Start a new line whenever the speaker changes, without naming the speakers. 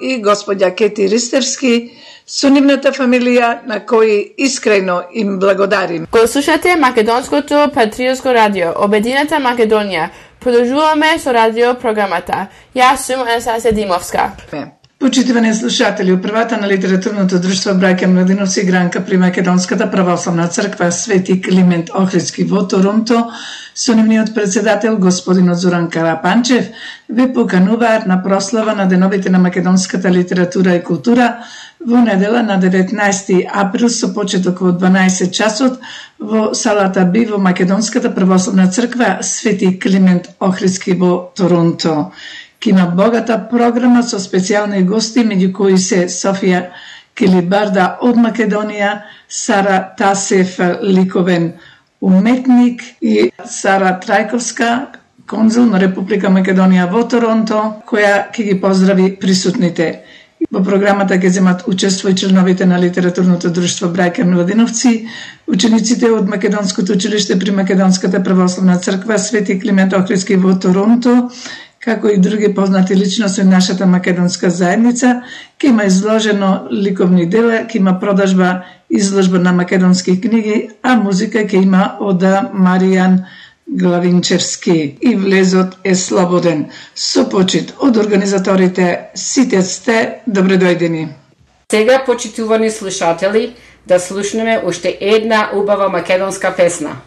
и господја Кети Ристерски, со нивната фамилија, на кои искрено им благодарим.
Го слушате Македонското патриотско радио, Обединета Македонија. Продолжуваме со радио програмата. Јас сум Анастасија Димовска.
Почитувани слушатели, управата на литературното друштво Браќа Младиновци Гранка при Македонската православна црква Свети Климент Охридски во Торонто, со нивниот председател господинот Зоран Карапанчев, ве покануваат на прослава на деновите на македонската литература и култура во недела на 19 април со почеток во 12 часот во салата Би во Македонската православна црква Свети Климент Охридски во Торонто. Ки има богата програма со специјални гости, меѓу кои се Софија Килибарда од Македонија, Сара Тасев, ликовен уметник, и Сара Трајковска, конзул на Република Македонија во Торонто, која ќе ги поздрави присутните. Во програмата ќе земат учество и членовите на литературното друштво Браќа Младиновци, учениците од Македонското училиште при Македонската православна црква Свети Климент Охридски во Торонто, како и други познати личности од нашата македонска заедница. Ќе има изложено ликовни дела, ќе има продажба, изложба на македонски книги, а музика ќе има од Маријан Главинчевски. И влезот е слободен. Со почит од организаторите, сите сте добредојдени.
Сега, почитувани слушатели, да слушнеме уште една убава македонска песна.